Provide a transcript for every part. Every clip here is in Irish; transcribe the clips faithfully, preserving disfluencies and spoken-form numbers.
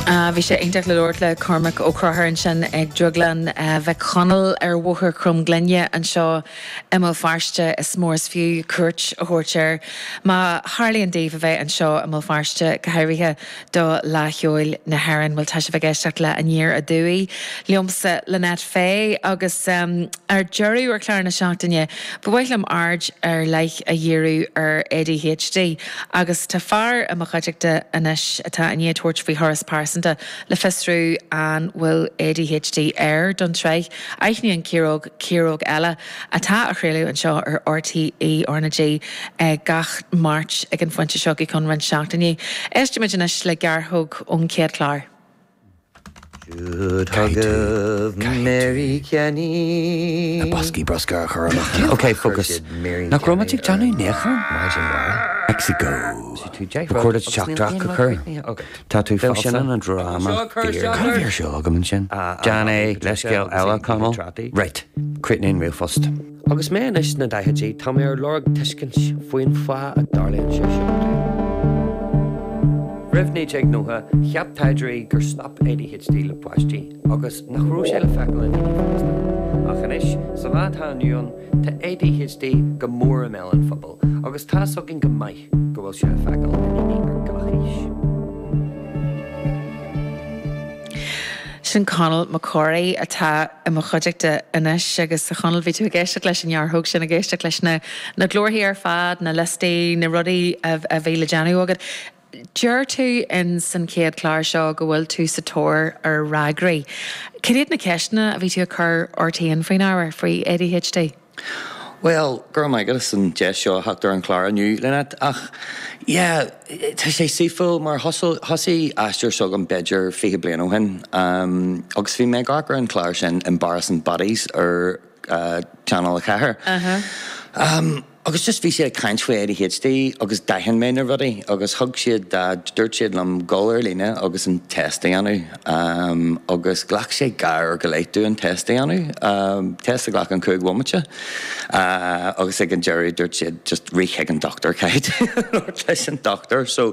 Uh, bhí sé iontach le labhairt le Cormac Ó Conchúir ansin ag Drioglann uh, Mhic Chonaill ar Bhóthar Chromghlinne anseo i mBéal Feirste is mór is fiú cuairt a thabhairt air. Má tharlaíonn daoibh a bheith anseo i mBéal Feirste go háirithe do Fhleadh Cheoil na hÉireann, bhfuil tá sibh ag éisteacht le Aniar Aduaidh liomsa Lynette Fay agus um, ar deireadh ar chlár na seachtaine, ba mhaith liom aird ar leith a dhíriú ar ADHD agus tá fear i mo chuideachta anois atá i ndiaidh tabhairt faoi thuras pearsanta le fiosrú an bhfuil ADHD air don tsraith Aithníonn Ciaróg Ciaróg eile atá á chraoladh anseo ar RTÉ RnaG gach Máirt ag an phointe seo go ceann roinnt seachtainí. Éistimid anois le gearrthóg ón chéad chlár. Should hug Mary Kenny. Na boscaí bruscair a chur amach. Ok, focus. Nach raibh muid ag déanamh níocháin? Mexico. Ba chóir duit teachtaireacht a chur. Tá tú Bheadh sin falsa. an dráma Cad a bhí ar siúl agam ansin? Déan é leithscéal eile Conall. Right, críochnaíonn ríomhphost. Agus mé anois sna daichidí tá mé ar lorg tuiscint faoin fáth a dtarlaíonn sé seo. Roimh naoi déag nócha cheap taighdeoirí gur stop ADHD le páistí agus nach raibh sé le feiceáil i ndaoine fásta. Ach anois sa lá atá inniu ann tá ADHD go mór i mbéal an phobail, agus tá a fhios againn go maith go bhfuil sé le feiceáil i ndaoine ar gach aois. Sin Conall Mac Corraidh atá i mo chuideachta anois agus a Chonaill bhí tú ag éisteacht leis an ngearrthóg sin ag éisteacht leis na na glórthaí ar fad, na liostaí, na rudaí a, a bhí le déanamh agat. Deir tú in san chéad chlár seo go bhfuil tú sa tóir ar fhreagraí. Cad iad na ceisteanna a bhí tú ag cur ort féin faoin ábhar faoi ADHD? Well, gur maith agus an deis seo theacht ar an chlár inniu Lynette ach yeah, tá sé saoithiúil mar thosaigh aistear s'agam b'fhéidir fiche bliain ó shin um, agus bhí mé ag amharc ar an chlár sin Embarrassing Bodies ar uh, Channel a ceathair. Uh -huh. Um, agus just bhí siad ag caint faoi ADHD agus d'aithin mé na rudaí agus thug siad dúirt siad liom dul ar líne agus an test a dhéanamh um, agus ghlac sé dhá uair go leith domh an test a dhéanamh um, test a ghlac an cúig bhomaite uh, agus ag an deireadh dúirt siad just rith chuig an dochtúir caithfidh leis an dochtúir so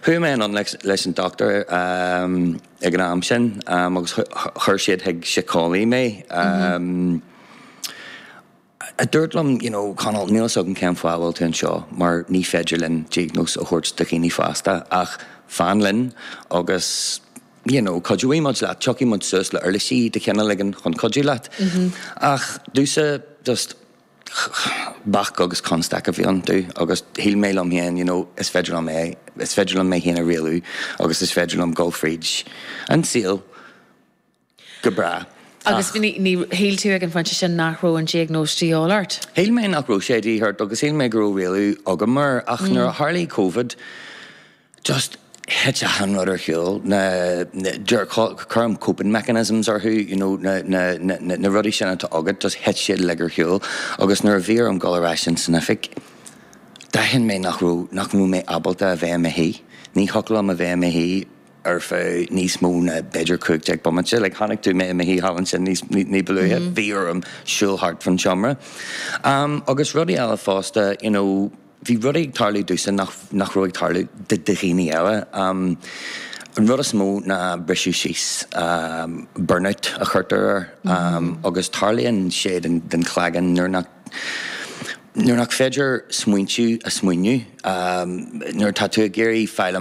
chuaigh mé an leis, leis an dochtúir um, ag an am sin um, agus chuir siad chuig síceolaí mé um, mm -hmm. A dúirt liom you know, Conall níl a fhios agam cén fáth bhfuil tú anseo mar ní féidir linn diagnóis a thabhairt do dhaoine fásta ach fan linn agus you know, cuideoidh muid leat tiocfaidh muid suas le uirlisí de chineál éigin chun cuidiú leat. Mm -hmm. Ach domhsa just bac agus constaic a bhí iontu agus shíl mé liom féin you know, is féidir liom é is féidir liom mé féin a rialú agus is féidir liom dul fríd an saol go breá. Agus ní shíl tú ag an phointe sin nach raibh an diagnóis de dhíobháil ort? Shíl mé nach raibh sé de dhíth ort agus shíl mé go raibh rialú agam air ach mm. nuair a tharla COVID just thit achan rud ar shiúl na cuirim coping mechanisms orthu you know, na, na, na, na rudaí sin atá agat just thit siad uilig ar shiúl agus nuair a bhí orm dul ar ais in san oifig d'aithin mé nach raibh nach raibh mé ábalta a bheith i mo shuí. Ní thiocfadh liom a bheith i mo shuí ar feadh níos mó ná b'fhéidir cúig déag bomaite, like chonaic tú mé i mo shuí thall ansin níos ní ba luaithe, mm -hmm. bhí orm siúl thart fan seomra. Um, agus rudaí eile fosta, you know, bhí rudaí ag tarlú domhsa nach, nach raibh ag tarlú do dhaoine eile. Um, an rud is mó ná briseadh síos um, burnout a chuirtear air um, mm -hmm. agus tarlaíonn sé den, den chlaigeann nuair nach nuair nach féidir smaointiú a smaoineamh um, nuair tá tú ag iarraidh fáil